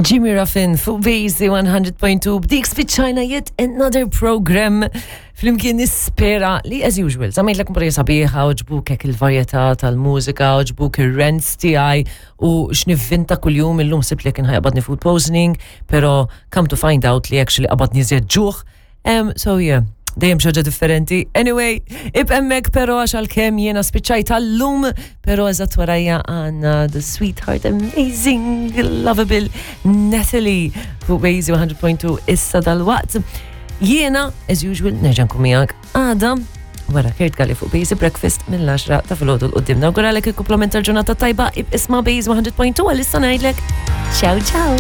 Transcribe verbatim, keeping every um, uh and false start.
Jimmy Ruffin fuq Bejzi one hundred point two, b'dik spiċċajna yet another program flimkien. Nispera li, as usual, żammejtlek kumpanija sabiħa, għoġbuk hekk il-varjetà tal-mużika, għoġbuk ir-rants tiegħi u x'nivvinta kuljum. Illum ħsibt li kien ħa jaqbadni food poisoning, pero come to find out li actually qabadni żjed ġuħ. Um, so yeah, dejjem xi ħaġa differenti. Anyway, ibqa' hemmhekk pero, għax għalkemm jiena spiċċajt għal-lum, pero eżatt warajja għandna the sweetheart, amazing, lovable Natalie fuq Bejzi one hundred point two issa dal-waqt. Jiena, as usual, nerġa' nkun miegħek għada wara Kurt Galli fuq Bejzi Breakfast mill-għaxra ta' filgħodu 'l quddiem. Nawguralek il-kumplament tal-ġurnata tajba, isma' Bejzi one hundred point two, għal issa ngħidlek ciao ciao.